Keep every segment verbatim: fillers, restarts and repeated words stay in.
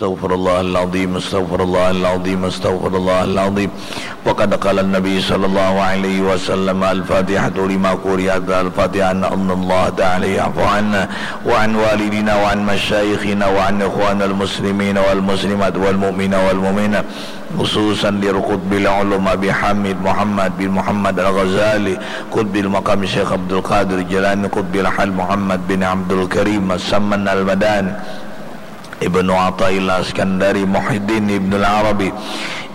Astaghfirullahaladzim, astaghfirullahaladzim, astaghfirullahaladzim. Wa qad qala Nabi sallallahu alaihi wasallam, Al-Fatihatu lima quri'at, Al-Fatihah, anna Allah ta'ala ya'fu anna wa an walidina wa an masyayikhina wa an ikhwanal muslimina wal muslimat wal mu'mina wal mu'minat, khususan di Qutbil Ulum Abi Hamid Muhammad bin Muhammad Al-Ghazali, Qutbil Maqam Syekh Abdul Qadir Jilani, Qutbil Hal Muhammad bin Abdul Karim As-Samman Al-Madani, Ibnu Athaillah Iskandari, Muhyiddin Ibnu Arabi,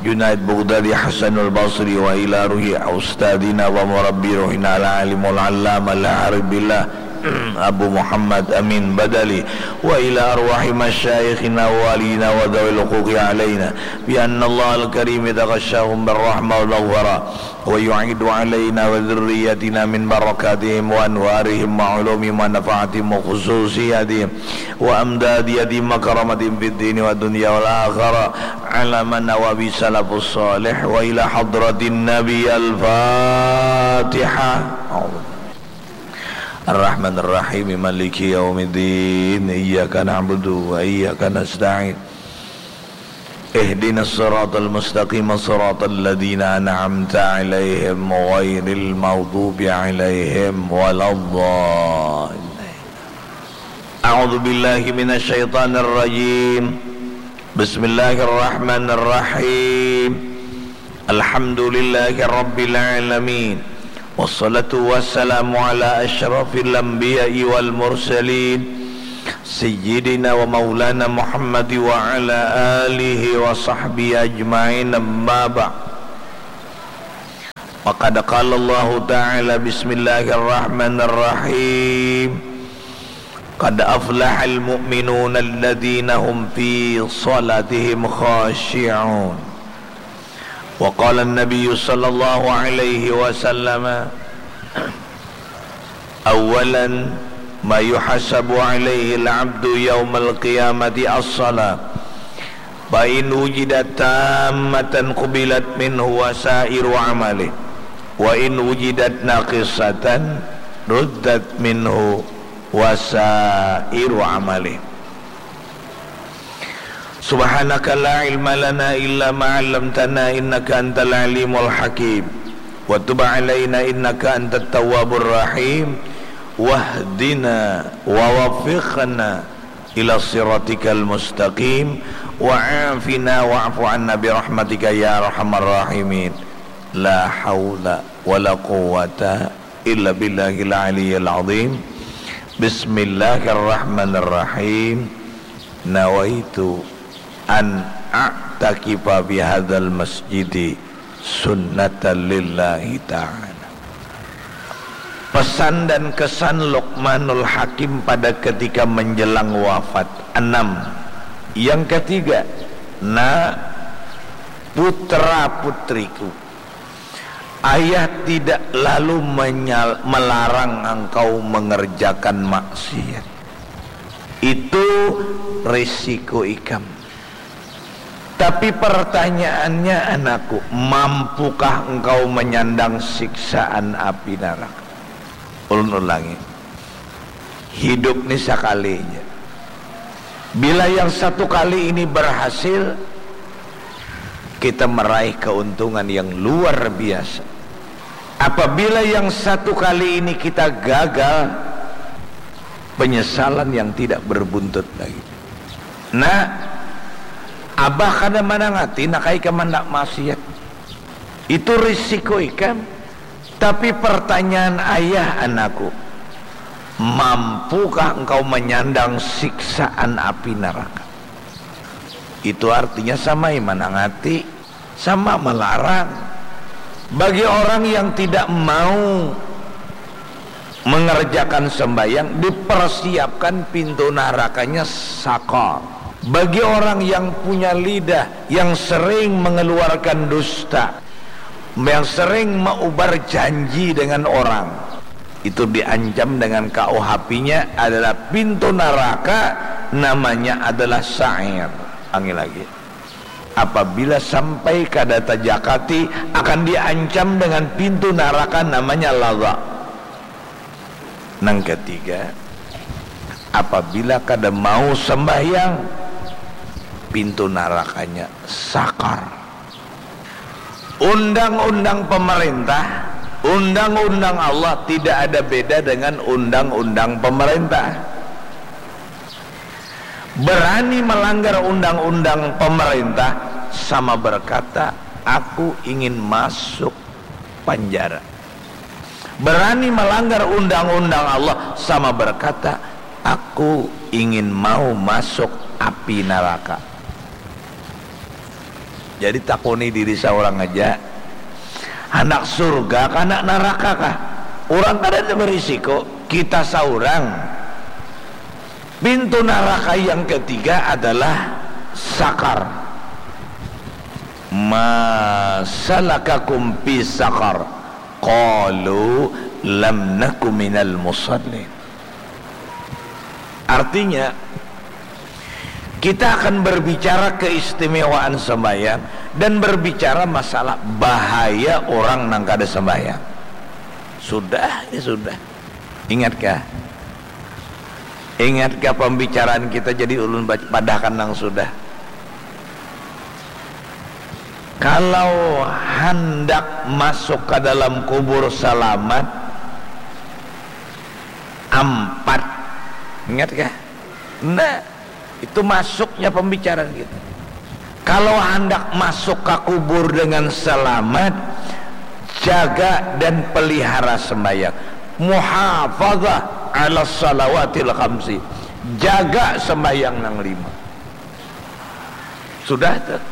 Junaid Baghdadi, Hasanul Basri, wa ila ruhi ustadina wa murabbi ruhina al-alimul allama al-arif billah Abu Muhammad Amin Badali, wa ila arwahi masyayikhina wa walina wa dhawil huquqi alaina, bi anna Allah al-karim yataghashahum birrahmah wal maghfirah. ويعيد علينا وذريتنا من بركاتهم وأنوارهم وعلومهم ونفحاتهم وخصوصياتهم وأمداداتهم وكراماتهم في الدين والدنيا والآخرة على ما نوى به السلف الصالح وإلى حضرة النبي الفاتحة. الرحمن الرحيم مالك يوم الدين إياك نعبد وإياك نستعين اهدنا الصراط المستقيم صراط الذين أنعمت عليهم غير المغضوب عليهم ولا الضالين. أعوذ بالله من الشيطان الرجيم. بسم الله الرحمن الرحيم. الحمد لله رب العالمين. والصلاة والسلام على أشرف الأنبياء والمرسلين سيدنا ومولانا محمد وعلى آله وصحبه أجمعين أما بعد. وقد قال الله تعالى بسم الله الرحمن الرحيم قد أفلح المؤمنون الذين هم في صلاتهم خاشعون. وقال النبي صلى الله عليه وسلم أولا ما يحاسب عليه العبد يوم القيامة الصلاة فإن وجدت تامة قبلت منه وسائر عمله وإن وجدت ناقصة ردت منه وسائر عمله. سبحانك لا علم لنا إلا ما علمتنا إنك أنت العليم الحكيم وتب علينا إنك أنت التواب الرحيم واهدنا ووفقنا إلى صراطك المستقيم وعافنا واعف عنا برحمتك يا أرحم الراحمين. لا حول ولا قوة إلا بالله العلي العظيم. بسم الله الرحمن الرحيم. نويت أن أعتكف بهذا المسجد سنة لله تعالى. Pesan dan kesan Luqmanul Hakim pada ketika menjelang wafat. Enam. Yang ketiga, nak, putra-putriku, ayah tidak lalu menyal- melarang engkau mengerjakan maksiat. Itu risiko ikam. Tapi pertanyaannya, anakku, mampukah engkau menyandang siksaan api neraka? Ulun ulangi. Hidup ni sakali ja. Bila yang satu kali ini berhasil, kita meraih keuntungan yang luar biasa. Apabila yang satu kali ini kita gagal, penyesalan yang tidak berbuntut lagi. Nah, abah kada manangati nak ikam handak maksiat. Itu risiko ikam. Tapi pertanyaan ayah, anakku, mampukah engkau menyandang siksaan api neraka? Itu artinya sama manangati, sama melarang. Bagi orang yang tidak mau mengerjakan sembahyang, dipersiapkan pintu nerakanya sakor. Bagi orang yang punya lidah, yang sering mengeluarkan dusta, yang sering meubar janji dengan orang, itu diancam dengan K U H P-nya adalah pintu neraka, namanya adalah sa'ir. Ulangi lagi. Apabila sampai kada tajakati, akan diancam dengan pintu neraka namanya laza. Nang ketiga, apabila kada mau sembahyang, pintu narakanya sakar. Undang-undang pemerintah, undang-undang Allah tidak ada beda dengan undang-undang pemerintah. Berani melanggar undang-undang pemerintah sama berkata, "Aku ingin masuk penjara." Berani melanggar undang-undang Allah sama berkata, "Aku ingin mau masuk api neraka." Jadi takuni diri seorang aja, anak surga kah, anak neraka kah? Orang kada ada berisiko, kita seorang. Pintu neraka yang ketiga adalah sakar. "Ma salakakum fi sakar?" Qalu lam naku minal musallin. Artinya, kita akan berbicara keistimewaan sembahyang dan berbicara masalah bahaya orang nang kada sembahyang. Sudah, ya sudah. Ingatkah? Ingatkah pembicaraan kita jadi ulun padahkan nang sudah? Kalau handak masuk ke dalam kubur selamat, ampat. Ingat kah? Nah, itu masuknya pembicaraan kita. Kalau handak masuk ke kubur dengan selamat, jaga dan pelihara sembahyang. Muhafazah ala salawatil khamsi. Jaga sembahyang nang lima. Sudah tuh.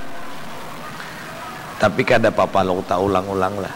Tapi kada apa-apa lo tak ulang-ulang lah.